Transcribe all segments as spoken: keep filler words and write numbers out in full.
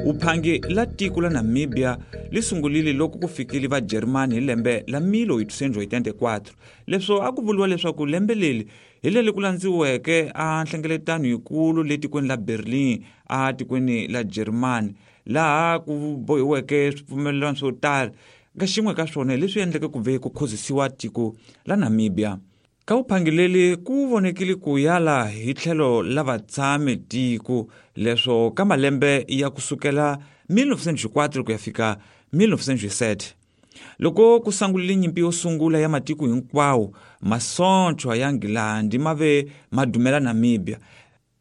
Uphangi la tiko la Namibia li sungulile loko ku fikile va Germany hi lembe la mil oitocentos oitenta e quatro. Leswo a ku vuriwa leswaku lembe leri hi leri ku landziweke a nhlengeletano yikulu le tikweni la Berlin a tikweni la Germany, laha ku bohiweke swipfumelelano swo tala. Ka xin'we ka swona hi leswi endleke ku ve ku khozisiwa tiko la Namibia. Ka vuphangileli ku vonekile ku yala hi tlhelo la vatshami tiko leswo ka malembe ya kusukela mil novecentos e quatro ku ya fika mil novecentos e sete. Loko ku sungulile nyimpi yo sungula ya matiko hinkwawo, masocha ya Nghilandi ma ve ma dumela Namibia,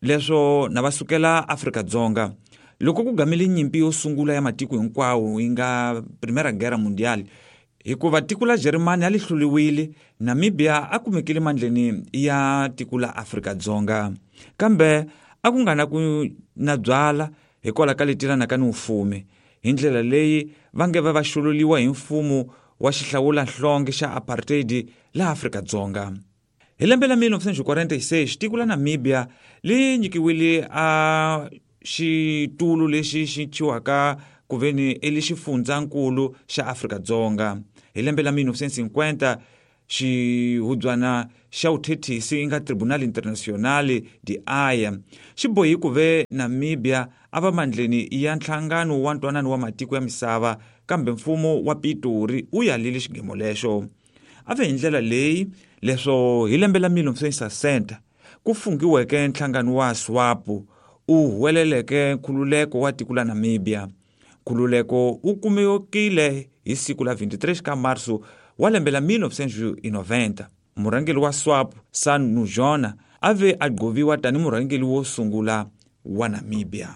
leswo na va sukela Afrika-Dzonga. Loko ku gamile nyimpi yo sungula ya matiko hinkwawo yi nga Primera Guerra Mundial, hikuva tiko la Germany a li hluriwile, Namibia a kumekile mandleni ya tiko la Afrika-Dzonga. Kambe a ku nga na ku na byala hikwalaho ka leti ka ni mfumo. Hi ndlela leyi va nge va va xululiwa hi mfumo wa xihlawulanhlonge xa apartheid la Afrika-Dzonga. Hi lembe la mil novecentos e quarenta e seis, tiko la Namibia li nyikiwile a xitulu lexi xi thyiwaka ku veni i xifundzankulu xa Afrika-Dzonga. Hi lembe la mil novecentos e cinquenta, xihubyana xa vuthethisi yi nga Tribunal Internacional de Haia xi bohi ku ve Namibia a va mandleni ya nhlangano wa ntwanano wa matiko ya misava, kambe mfumo wa Pitori wu yalile xigemo lexo. A ve hi ndlela leyi leswo hi lembe la mil novecentos e sessenta ku fungiweke nhlangano wa SWAPO u huweleleke nkhululeko wa tiko la Namibia. Nkhululeko wu kumekile hi siku la vinte e três ka março wa lembe la mil novecentos e noventa. Murhangeri wa SWAPO Sam Nujoma a ve a gqoviwa tani murhangeri wo sungula wa Namibia.